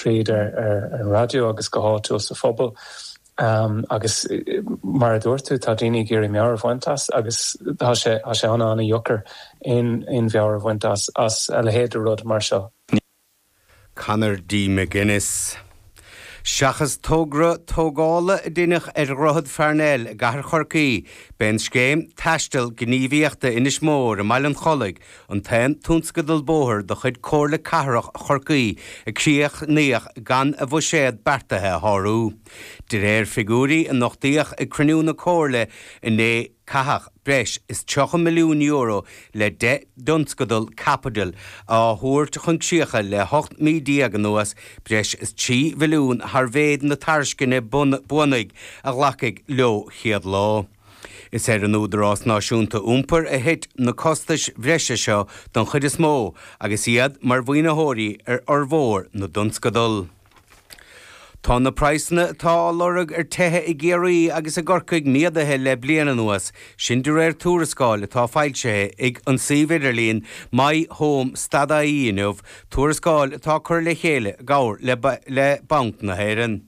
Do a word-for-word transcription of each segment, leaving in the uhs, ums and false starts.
tríd ar, ar, ar an raidió agus go háitiúil sa phobal. Um, agus mar a dúirt tú tá daoine ag iarraidh meabhair a bhaint as agus tá sé tá sé an-an-deacair aon aon mheabhair a bhaint as as a leithéid de rud mar seo. Conor D. McGuinness. Seachas togra tógála a deineadh ar Dhroichead Pharnell i gcathair Chorcaí, b'é an scéim taisteal gníomhaíochta Inis Mór i mBaile an Chollaigh an t-aon tionscadal bóthair de chuid Comhairle Cathrach Chorcaí a críochnaíodh gan a bhuiséad beartaithe a shárú. De réir figiúirí a nochtaíodh ag cruinniú na Comhairle inné caitheadh breis is tríocha milliún euro le deich dtionscadal caipitil á thabhairt chun críche le hocht mí déag anuas breis is trí mhilliún thar mhéid na tairisceana bunaidh a glacadh leo chéad lá. Is ar an Údarás Náisiúnta Iompair a thit na costais bhreise seo don chuid is mó agus iad mar mhaoinitheoirí ar fhormhór na dtionscadal. Tá na praghsanna atá á lorg ar tithe i gCiarraí agus i gCorcaigh méadaithe le bliain anuas, sin de réir tuarascáil atá foilsithe ag an suíomh idirlín My Home stad I E inniu, tuarascáil atá curtha le chéile i gcomhar le, le Banc na hÉireann.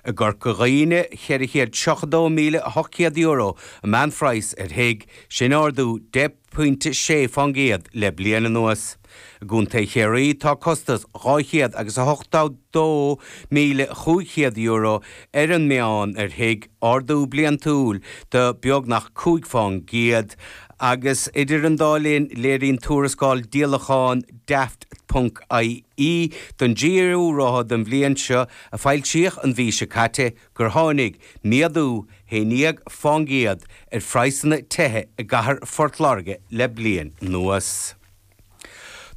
I gCorca Dhuibhne ceithre chéad tríocha dó míle ocht céad euro an meánphraghas ar thigh, sin ardú deich pointe sé faoin gcéad le bliain anuas. I gContae Chiarraí tá costas dhá chéad agus a hochtó dó míle cúig chéad euro ar an meán ar thigh ardú bliantúil de beagnach cúig faoin gcéad agus idir an dá linn léiríonn tuarascáil díolachán daft ponc I E don dtríú ráithe den bhliain seo a foilsíodh an mhí seo caite gur tháinig méadú haon déag faoin gcéad ar phraghsanna tithe i gcathair Phort Láirge le bliain anuas.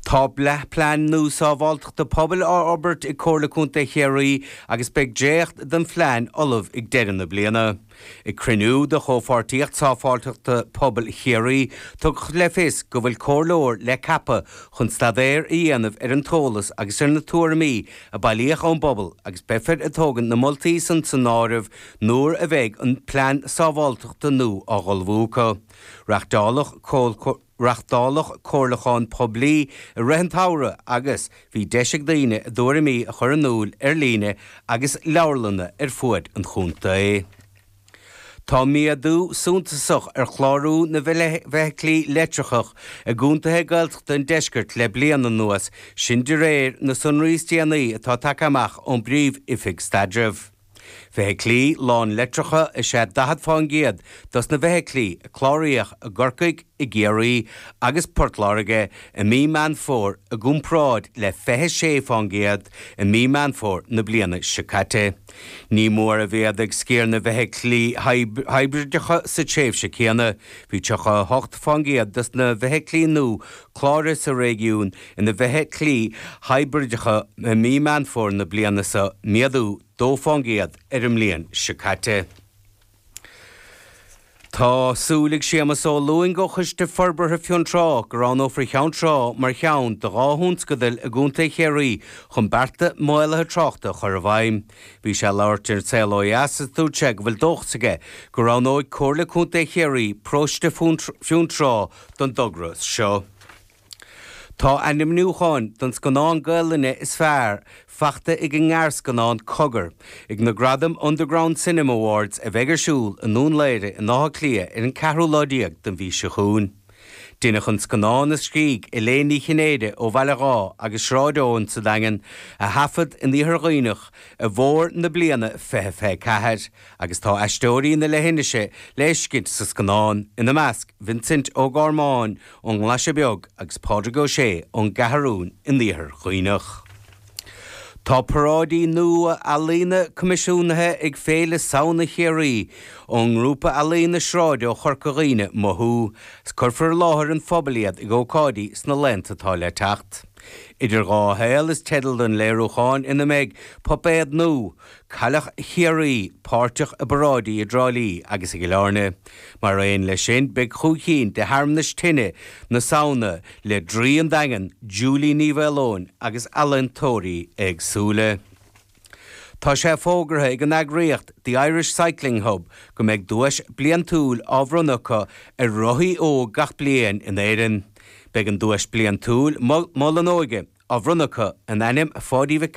Tá plean nua sábháilteachta pobail á fhorbairt ag Comhairle Contae Chiarraí agus beidh dréacht den phlean ullamh ag deireadh na bliana. Ag cruinniú de chomhpháirtíocht sábháilteachta pobail Chiarraí tugadh le fios go bhfuil comhairleoir le ceapadh chun staidéar a dhéanamh ar an eolas agus ar na tuairimí a bailíodh ón bpobal agus beifear ag tógaint na moltaí san san áireamh nuair a bheidh an plean sábháilteachta nua á ullmhú acu. Reáchtáladh Reáchtáladh comhairliúchán poiblí i rith an tsamhraidh agus bhí deis ag daoine a dtuairimí a chur in iúl ar líne agus leabharlanna ar fud an chontae. Tá méadú suntasach ar chlárú na bhfeithiclí leictreacha i gcontaetha Gaeltachta an deiscirt le bliain anuas, sin de réir na sonraí is déanaí atá tagtha amach ón bPríomh-Oifig Staidrimh. Feithiclí lán-leictreacha is ea daichead faoin gcéad dos na feithiclí a cláraíodh i gCorcaigh i gCiarraí agus Port Láirge i mí Meán Fómhair i gcomparáid le fiche sé faoin gcéad i mí Meán Fómhair na bliana seo caite. Ní mór a mhéadaigh sciar na bhfeithiclí hibrideacha sa tréimhse céanna, bhí tríocha hocht faoin gcéad dos na feithiclí nua cláraithe sa réigiún ina bhfeithiclí hibrideacha i mí Meán Fómhair na bliana seo méadú dó faoin gcéad ar an mbliain seo caite. Tá súil ag Séamus Ó Lúing ó Choiste Forbartha Fionntrá go roghnófar Ceann Trá mar cheann de dhá thionscadal i gContae Chiarraí chun bearta maolaithe tráchta a chur i bhfeidhm. Bhí sé ag labhairt ar Saol Ó Dheas is dúirt sé go bhfuil dóchas aige go roghnóidh Comhairle Contae Chiarraí paróiste Fionntrá don dtogra seo. Tá ainmniúchán don scannán Gaelainne is fearr faighte ag an ngearrscannán Cogar, ag na Gradaim Underground Cinema Awards a bheidh ar siúl i nDún Laoghaire in Áth Cliath ar an ceathrú lá déag den mhí seo chugainn. Deineadh an scannán a scrígh Elaine Ní Chinnéide ó Bhaile Dhá agus Sráid Eoin sa Daingean a thaifead in Iarthar Dhuibhneach i bhfómhar na bliana fiche fiche ceathair, agus tá aisteoirí na leithinise le feiscint sa scannán ina measc Vincent Ó Gormáin ón nGlaise Beag agus Pádraig Ó Sé ón gCeathrún in Iarthar Dhuibhneach. Tá paráidí nua ealaíne coimisiúnaithe ag Féile Samhna Chiarraí ón ngrúpa ealaíne sráide ó Chorca Dhuibhne Mothú, 's cuirfear i láthair an phobail iad ag ócáidí sna laethanta atá le teacht. Idir dhá shaol is teideal don léiriúchán ina mbeidh puipéad nua, Cailleach Chiarraí, páirteach i bparáidí i dTrá Lí agus i gCill Airne. Mar aon leis sin beidh cúig cinn de shearmanais tine na Samhna le Draoi an Daingin, Julie Ní Mhaoileoin agus ealaíontóirí éagsúla. Tá sé fógartha ag an eagraíocht The Irish Cycling Hub go mbeidh duais bliantúil á bhronnadh acu ar rothaí óg gach bliain in Éirinn. Beidh an duais bliantúil Mol an Óige á bhronnadh acu in ainm Pháidí Mhic